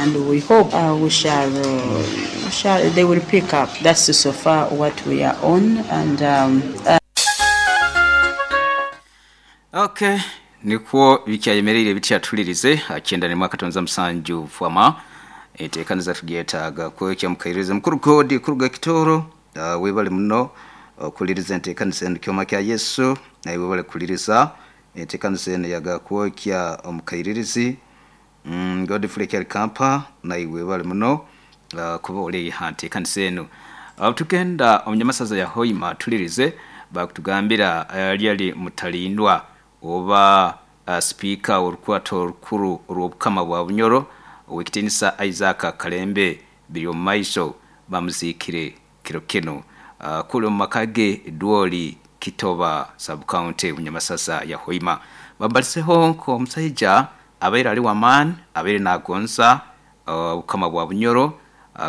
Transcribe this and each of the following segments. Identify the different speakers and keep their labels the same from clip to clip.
Speaker 1: And we hope we shall, they will pick up. That's so far what we are on. And
Speaker 2: Okay, nikwo bikyayemereire bityatulirize akenda ne mwaka tonza musanju fwama etekaniza tugyetaaga kwekya mukairize mukuru godi kuruga Kitoro. Webale muno okuliriza enteekaniza eno kyoma kya Yesu naye webale kuliriza enteekaniza eno yaga kwokya omukairirizi Godfrey Kampa naye webale muno kuba oli ha nteekaniza eno. Tugenda omunyamasaza ya Hoima tulirize bakutugambira lyali mutalindwa oba speaker orukwato orukuru orw'obukama bwa Bunyoro owekitinisa Isaac Kalembe biri omu maiso bamuziikire kiro kino kuli omu maka ge Dwoli, Kitoba Sub-County, Bunyamasasa ya Hoima. Bambaliseho nk'omusaija abaire ali w'amaani, abaire nagonza obukama bwa Bunyoro,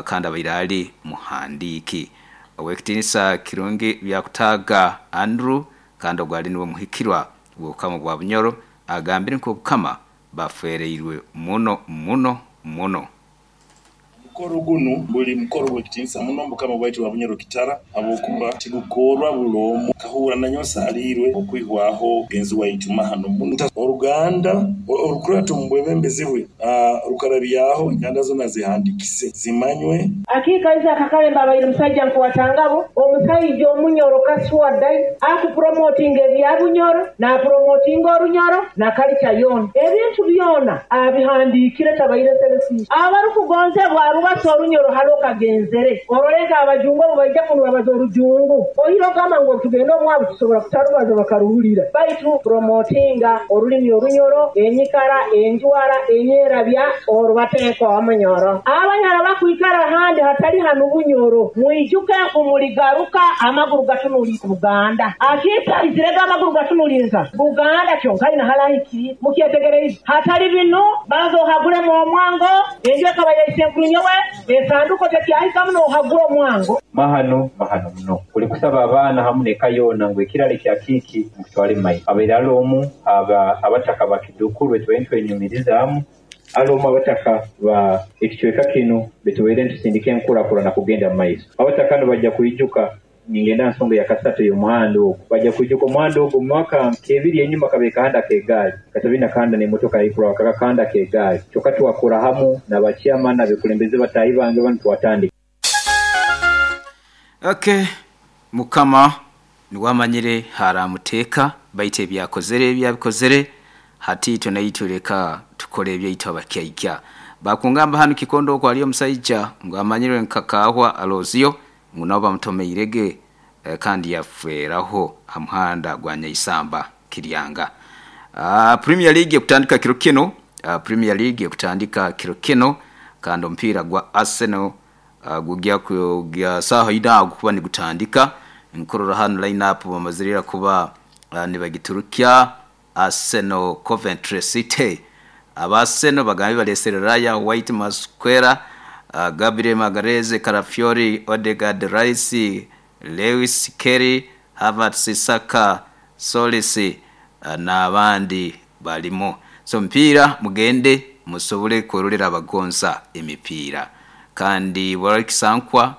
Speaker 2: kandi abaire ali muhandiiki. Owekitinisa Kirungi Byakutaaga Andrew kandi ogwo ali niwe muhikirwa w'obukama bwa Bunyoro agambire nk'obukama bafereirwe muno muno muno.
Speaker 3: Mukoro guno buli mukoro gw'ekitiinisa muno mukama bwaitu wa Bunyoro Kitara, habwokuba tigukorwa buli omu kahura nanyowe nsaliirwe okwihwaho mugenzi waitu mahano muno. Oruganda orukurata omu bwebembezi bwe rukarabyaho enganda zona zihandikise zimanywe.
Speaker 4: Akika Isaac Kalemba abaire musajja nkuwatangabo, omusajja omunyoro kaswadai akupromotinga ebya Bunyoro napromotinga orunyoro na kalica yona, ebintu byona abihandikire, tabaire selfish. Abarukugonzebwa arubasa orunyoro hali okagenzere orolenga abajungu abo baija kuno babaza orujungu oyire ogamba ngu tugende omwabo tusobola kutarubaza bakaruhurira, baitu promotinga orulimi orunyoro, enyikara, enjwara, enyerabya orubateeka omunyoro. Abanyara bakwikara ahandi hatali hanu Bunyoro, mwijuke nkumuligaruka amaguru gatunulire Buganda. Akiitaizirega amaguru gatunulinza Buganda kyonka ina halahikiri mukyetegereize hatali binu banza ohagulemu omwango enju ekaba yaise enkulu nyowe esanduko tekyahikamu nohagula omwango.
Speaker 5: Mahano, mahano muno kuli kusaba abaana hamu neka yoona ngu ekirale kya kiiki mukitwale mumaiso. Abaire ali omu aba abataka bakidukuru betubaire ntwenyumirizaamu, ali omu abataka ba ekicweka kinu betubaire ntusindika enkurakurana kugenda mumaiso. Abataka no bajja kwijuka ningenda nsonga ya kasatu y'omuhanda ogwo, bajja kwijuka omuhanda ogwo mu mwaka nk'ebiri enyuma kabaire kahanda k'egaali, katabina kahanda n'emotoka yaikurwa kakakahanda k'egaali, kyokka twakora hamu n'abachairman abekulembeze bataahi bange banu twatandika.
Speaker 2: Okay, mukama niwamanyire haramuteeka baitu ebyakozere ebyabikozere hati itwe naitwe leka tukole ebyaitu abakyaikya. Bakungamba hanu Kikondo okwo aliyo omusaija ngu amanyirwe nka Kahwa Alozio ngu nabo bamutomeirege kandi yaferaho ha muhanda gwa Nyaisamba Kiryanga. Premier League ekutandika kiro kino, Premier League ekutandika kiro kino kandi omupiira gwa Arsenal gugya kugya saaha ina kuba nigutandika. Nkurora hanu line up bamazirira kuba nibagiturukya. Arsenal Coventry City, aba Arsenal bagambe balesere Raya, White, Masquera, Gabriel Magalhaes, Calafiori, Odegaard, Rice, Lewis Kelly, Havertz, Saka, Solis n'abandi balimu. So emipiira mugende musobole kwerolera abagonza emipiira kandi Kisankwa,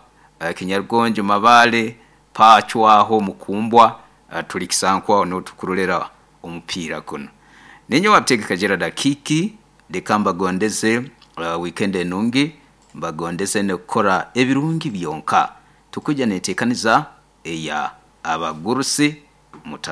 Speaker 2: Kinyarugonjo, Mabale, Pacwaho, Mukumbwa, tuli Kisankwa notukurolera omupiira guno. Ninyo wabitegeka Gerard Akiki, leka mbagondeze weekend enungi, mbagondeze nekukora ebirungi byonka. Tukujja netekaniza eya abagurusi mutar.